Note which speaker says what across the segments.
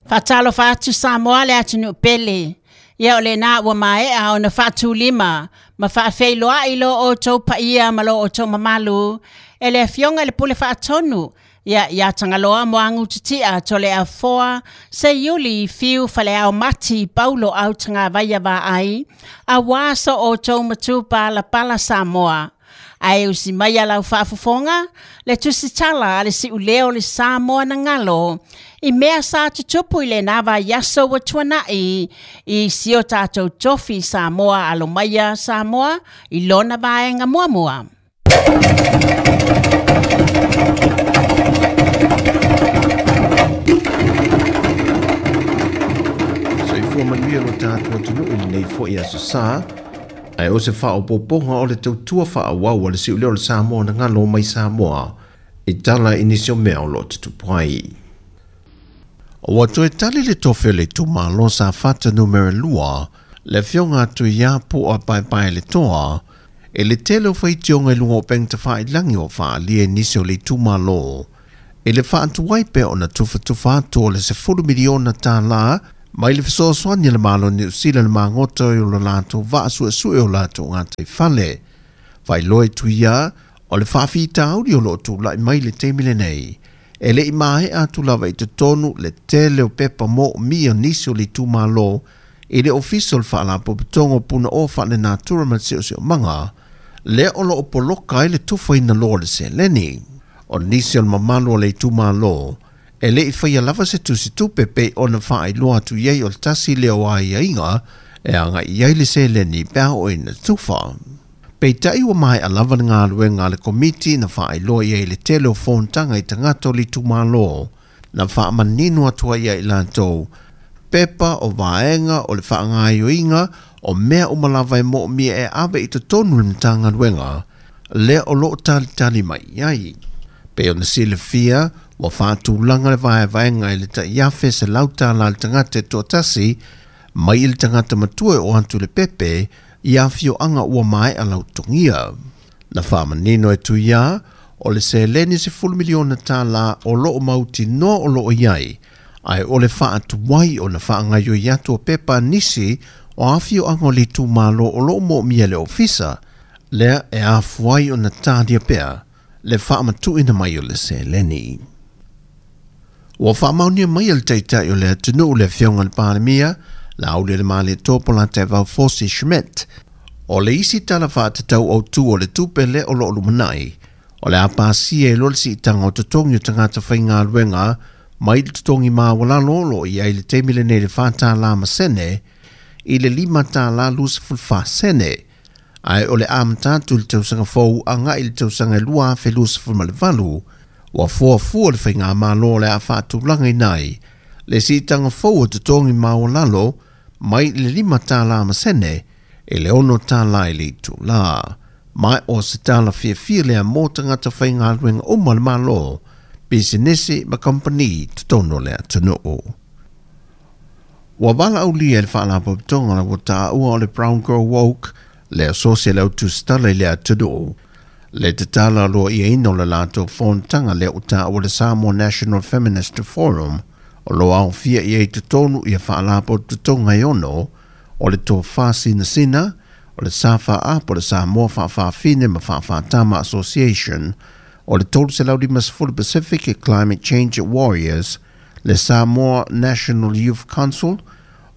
Speaker 1: Faatalofa atu Samoa le atunuu pele. Ia o lena ua maea ona faatulima ma faafeiloai lo outou paia ma lo outou mamalu e le Afioga i le Pule Faatonu, ia ia Tagaloa Muagututia Toleafoa Seiuli Fiu Faleao Mati Paulo Autagavaia Vaai, aua so outou matupalapala Samoa. Ae usi mai a lau faafofoga le tusitala a le siuleo le Samoa na galo i mea sa tutupu i lena vaiaso ua tuanai i si o tatou tofi Samoa alo maia Samoa i lona vaega muamua.
Speaker 2: Soifua manuia lo tatou atunuu i lenei foi aso Sa, ae o se faaopoopoga o le tautua faaauau a le siuleo o le Samoa na galo mai Samoa i tala i nisi o mea o lo o tutupu ai. Ua toe tali le tofi o le itumalo Safata numera 2, le afioga a Tuia Pu'a Paepaeletoa, e le tele o faitioga i luga o upega tafailagi o faaalia i nisi o le itumalo, i le faatuai pea ona tufatufa atu o le $10 miliona tālā mai le fesoasoani a le Malo o Niu Sila le magota o lo latou vaa suesue o latou gataifale. Faailoa e Tuia o le faafitauli o lo o tulai mai le taimi lenei, e le i maea atu lava i totonu le tele o pepa moomia o nisi o le itumalo i le ofisa o le Faalapotopotoga o Punaoa Faalenatura ma le Siosiomaga, lea o lo o poloka ai le tufaina loa o le seleni. O nisi o le mamalu o le itumalo e le i faia lava se tusitupe pei ona faailoa atu i ai o le tasi lea o aiaiga e agai i ai le seleni pe a oo ina tufa. Peitai ua maea lava le galuega a le komiti na faailoa i ai le tele o fonotaga i tagata o le itumalo na faamanino atu ai ia i latou pepa o vaega o le faagaoioiga o mea uma lava e moomia e ave i totonu le Matagaluega lea o lo o talitali mai i ai. Pei ona silafia, ua faatulaga le vaevaega i le tai $1,100 le tagata e toatasi mai i le tagata matua e oo atu i le pepe i afioaga ua maea lautogia. Na faamanino e Tuia o le seleni $10 miliona tālā o lo o mautinoa o lo o i ai, ae o le faatuai ona faagaoioi atu o pepa a nisi o afioaga o le itumalo o lo o moomia e le ofisa, lea e afua ai ona talia pea le faamatuuina mai o le seleni. Ua faamaonia mai e le Taitai o le atunuu le Afioga i le Palemia, Laaulialemalietoa Polataivao Fosi Schmidt, o le isi tala faatatau autu o le tupe lea o lo o lumanai, o le a pasia i loa le siitaga o totogi o tagata faigaluega mai le totogi maualalo o lo o i ai i le taimi lenei le $4 ma sene i le $5.24 sene, ae o le amata atu i le tausaga fou agai i le tausaga e 2028, ua fuafua le faigamalo o le a faatulagaina ai le siitaga fou o totogi maualalo mai le $5 ma sene i le $6 i le itulā. Ma o se tala fiafia lea mo tagata faigaluega uma o le Malo, pisinisi ma kamupani totonu o le atunuu. Ua valaaulia e le Faalapotopotoga ua taua o le Brown Girl Woke le asosi a le au tusitala i le atunuu, le tatala aloaiaina o le latou fonotaga lea ua taua le Samoa National Feminist Forum, o lo o aofia i ai totonu ia Faalapotopotoga e ono o le Tofa Sinasina, o le SFA po o le Samoa Faafaafine ma Faafaatama Association, o le 350 Pacific Climate Change Warriors, le Samoa National Youth Council,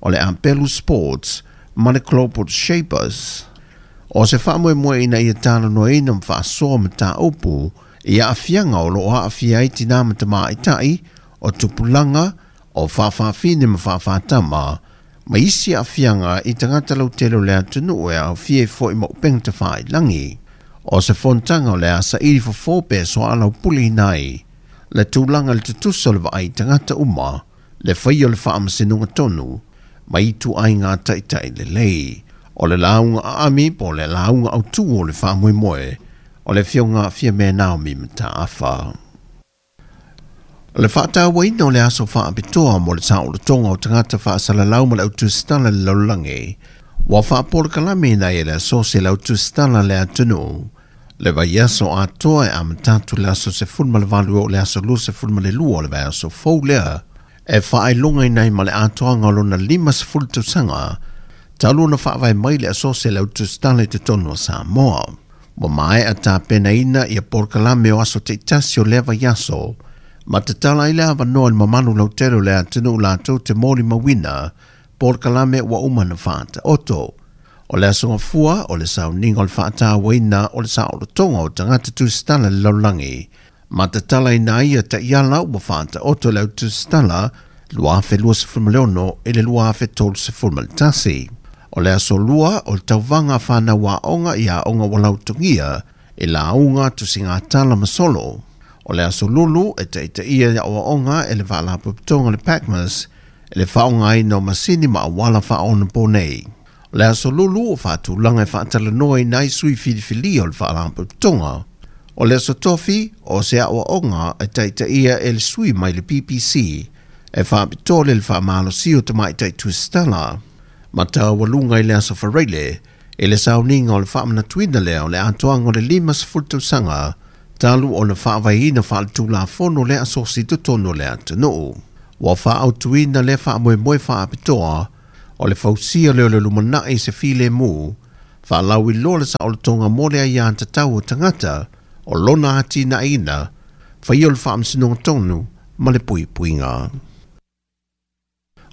Speaker 2: o le Apelu Sports ma le Global Shapers. O se faamoemoe ina ia talanoaina ma faasoa mataupu i aafiaga o lo o aafia ai tinā ma tamaitai, o tupulaga, o faafaafine ma faafaatama, ma isi aafiaga i tagata lautele o le atunuu e aofia ai foi ma upega tafailagi. O se fonotaga o le a saili fofo pe soalaupuleina ai le tulaga i le tutusa o le vaai i tagata uma, le faia o le faamasinoga tonu, ma ituaiga taitai lelei. O le lauga aami po o le lauga autu o le faamoemoe o le Afioga Fiame Naomi Mataafa. Le faatauaina o le aso faapitoa mo le saolotoga o tagata faasalalau ma le au tusitala i le lalolagi, ua faapolokalame ai e le asosi a le au tusitala le atunuu le vaiaso atoa e amata atu i le aso 18 e oo i le aso 22 o le vaiaso fou lea. E faailogaina ai ma le atoaga o lona 50 tausaga talu ona faavae mai le Asosi a le Au Tusitala i totonu o Samoa. Ua maea tapenaina ia polokalame o aso taitasi o lea vaiaso, ma tatala ai le avanoa i le mamalu lautele o le atunuu latou te molimauina polokalame ua uma ona faataoto. O le aso Gafua o le sauniga o le faatauaina o le saolotoga o tagata tusitala i le lalolagi, ma tatalaina ai ia taiala ua faataoto e le Au Tusitala 2026 i le 2031. O le aso Lua o le tauvaga a fanau aoga i aoga ua lautogia i lauga, tusigatala ma solo. O le aso Lulu e taitaia i aoaoga e le Faalapotopotoga o le PACMAS i le faaaogaina o masini ma auala faaonaponei. O le aso Lulu o faatulaga e faatalanoaina ai sui filifilia o le Faalapotopotoga. O le aso Tofi o se aoaoga e taitaia e le sui mai le PPC e faapitoa le faamalosia o tamaitai tusitala. Ma taualuga i le aso Faraile i le sauniga o le faamanatuina lea o le atoaga o le 50 tausaga talu ona faavaeina faaletulafono le asosi i totonu o le atunuu. Ua faaautuina lea faamoemoe faapitoa o le fausia lea o le lumanai i se filemu, faalauiloa le saolotoga mo le aiatatau o tagata o lona atinaeina, faia o le faamasinoga tonu ma le puipuiga.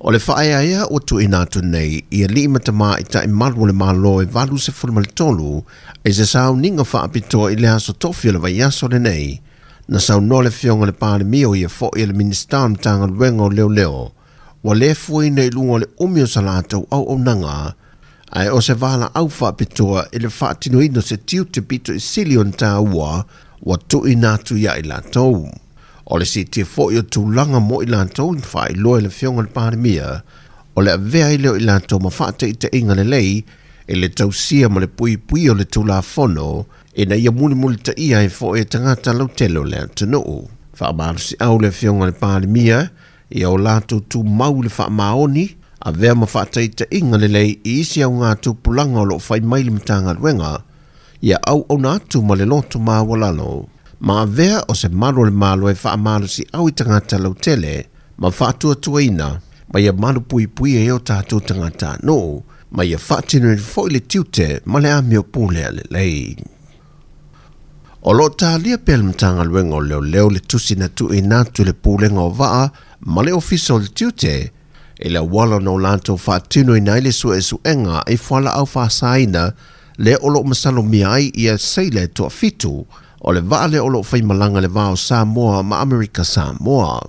Speaker 2: O le faaeaea ua tuuina atu nei i alii ma tamaitai malu o le Malo e 83 i se sauniga faapitoa i le aso Tofi o le vaiaso lenei, na saunoa le Afioga i le Palemia o ia foi o le Minisita o le Matagaluega o Leoleo, ua le fuaina i luga o le umi o sa latou auaunaga, ae o se valaau faapitoa i le faatinoina o se tiute pito i sili ona taua ua tuuina atu ia i latou. O le siitia foi o tulaga mo i latou na faailoa e le Afioga i le Palemia, o le avea ai lea o i latou ma faataitaiga lelei i le tausia ma le puipuia o le Tulafono ina ia mulimulitaia ai foi e tagata lautele o le atunuu. Faamalosiau le Afioga i le Palemia ia o latou tumau i le faamaoni, avea ma faataitaiga lelei i isi augatupulaga o lo o fai mai le Matagaluega, ia auauna atu ma le loto maualalo, ma avea o se malu o le Malo e faamalosiau i tagata lautele ma faatuatuaina, ma ia malupuipuia ai o tatou tagatanuu, ma ia faatinoina foi le tiute ma le amio pulea lelei. O lo o talia pea le Matagaluega o Leoleo le tusi na tuuina atu i le Pulega o Vaa ma le Ofisa o le Tiute i le auala na o latou faatinoina ai le suesuega i fualaau faasaina lea o lo o masalomia ai ia seila e toafitu o le vaa lea o lo o faimalaga i le va o Samoa ma Amerika Samoa.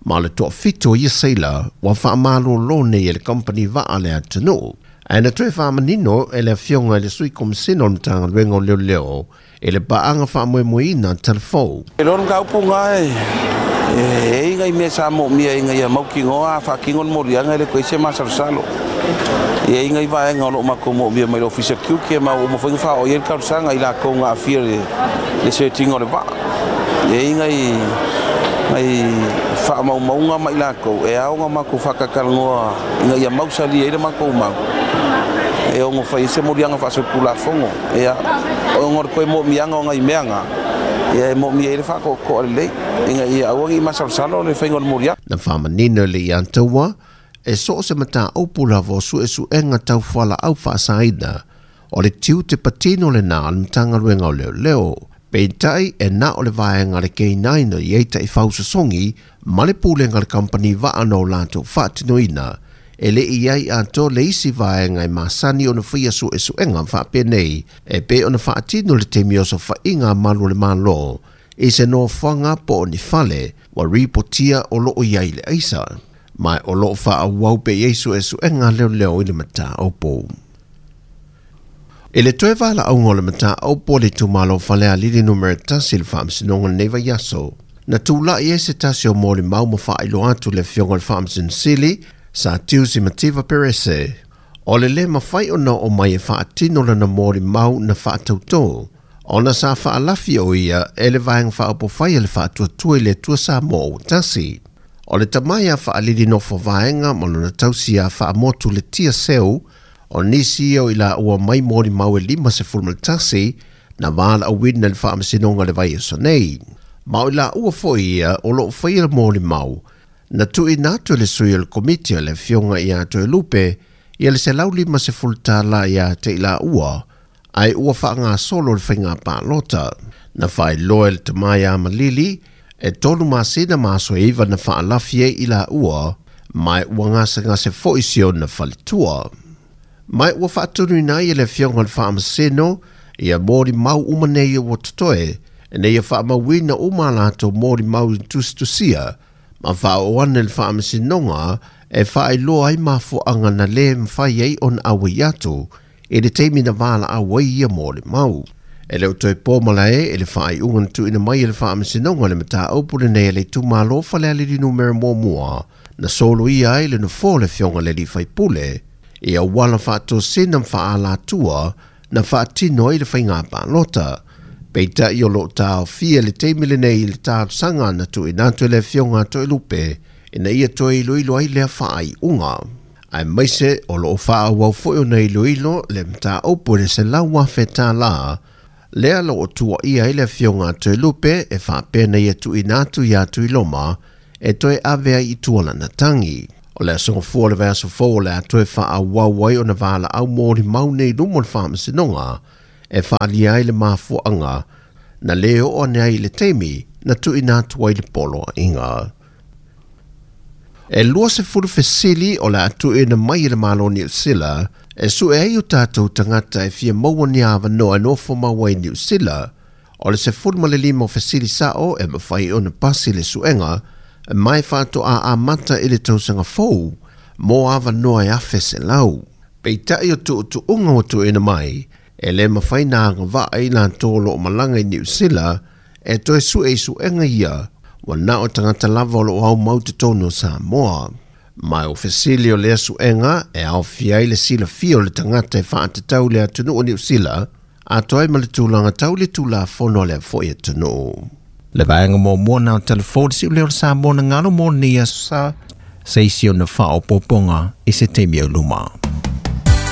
Speaker 2: Ma o le toafitu o ia seila ua faamalolo nei e le kamupani vaa a le atunuu. Ae na toe faamanino e le Afioga i le Sui Komasina o le Matagaluega o Leoleo i le paaga faamoemoeina talafou.
Speaker 3: E loa le mataupu lena e i ai nai mea sa moomia ina ia mautinoa a faatino le moliaga e le toe i ai se masalosalo. E i ai nai vaega o lo o matou moomia mai le Ofisa Tiute ma ua uma foi ona faaoo i ai le talosaga i latou na aafia i le search ina o le vaa. E i ai nai nai faamaumauga ma i latou e ao ona matou faatatalanoa ina ia mausali ai le matou mau e ono fai ai se moliaga faasolitulafono. Ia, ona o le toe moomiaga o nai mea na, ia e moomia ai le faatoatoa lelei ina ia aua ne i masalosalo le faiga o le moliaga.
Speaker 2: Na faamanino e le Iataua, e so o se mataupu lava o suesuega tau fualaau faasaina, o le tiute patino lena a le Matagaluega o Leoleo. Peitai, e na o le vaega a le K9 o i ai taifau sosogi ma le pulega a le kamupani vaa na o latou faatinoina, e le i ai atoa le isi vaega e masani ona faia suesuega faapenei e pei ona faatino i le taimi o sofaiga a malu o le Malo i se nofoaga po o ni fale ua ripotia o lo o i ai le aisa, ma o lo o faaauau pea i ai suesuega a leoleo i le mataupu. I le toe valaauga o le mataupu a le itumalo o Falealili Numera 1 i le Faamasinoga i lenei vaiaso, na tulai ai se tasi o molimau ma faailoa atu le Afioga i le Faamasino Sili, Sir Tiusi Mativa Perese, o le lē mafai ona oo mai e faatino lana molimau na faatautō, ona sa faalafi o ia e le Vaega Faaupufai a le Faatuatua i le Atua Samoa ua Tasi. O le tama ia Faalili Nofo Vaega ma lona tausi ia Faamotu Letia Seu, O nisi ia o i laua mai molimau e 51 na valaauina i le Faamasinoga i le vaiaso nei. Ma o i laua foi ia o lo o faia molimau Na tuuina atu e le sui o le Komiti o le Afioga ia Toelupe ia le $150 ia te i laua, ae ua faagasolo le faiga palota. Na faailoa e le tama ia Malili, e 3 masina ma aso e 9 na faalafi ai i laua, ma ua gasegase foi si ona faletua. Ma ua faatonuina ai e le Afioga i le Faamasino ia molimau uma nei ua totoe, ina ia faamauina uma a latou molimau i tusitusia, ma faaoo ane le Faamasinoga e faailoa ai mafuaaga na le mafai ai ona auai atu i le taimi na valaau ai ia molimau. E le o toe po malae i le faaiuga na tuuina mai e le Faamasinoga le mataupu lenei a le itumalo Falealili numera 1, na soloia ai le nofoa o le Afioga i le alii faipule i auala faatosina ma faaalatua na faatino ai le faiga palota. Peitai o loo taofia le taimi lenei i le talosaga na tuuina atu e le Afioga a Toelupe ina ia toe iloilo ai lea faaiuga. Aemaise o loo faaauau foi ona iloilo le mataupu i le $100,000 lea loo tuuaia ai le Afioga a Toelupe e faapea na ia tuuina atu ia Tuiloma e toe ave ai i tua lana tagi. O le aso Gafua o le vaiaso fou o le a toe faaauau ai ona valaau molimau nei i luma o le Faamasinoga e faaalia ai le mafuaaga na le oo ane ai i le taimi na tuuina atu ai le poloaiga. E 20 fesili o le a tuuina mai e le Malo o Niu Sila e sue ai o tatou tagata e fia maua ni avanoa e nofo mau ai i Niu Sila. O le 15 o fesili sao e mafai ona pasi le suega ma e faatoa amata i le tausaga fou mo avanoa e 1,100. Peitai o tuutuuga ua tuuina mai e le mafai na agavaa i latou o loo malaga i Niu Sila e toe sue i suega ia ua na o tagata lava o loo aumau totonu o Samoa. Ma o fesili o lea suega e aofia ai le silafia o le tagata e faatatau i le atunuu o Niu Sila, atoa ai ma le tulaga tau i le Tulafono a lea foi atunuu. Le vaega muamua na o telefoni si'u lea o le Samoa na galo mo lenei aso sa, se isi ona faaopoopoga i se taimi o luma.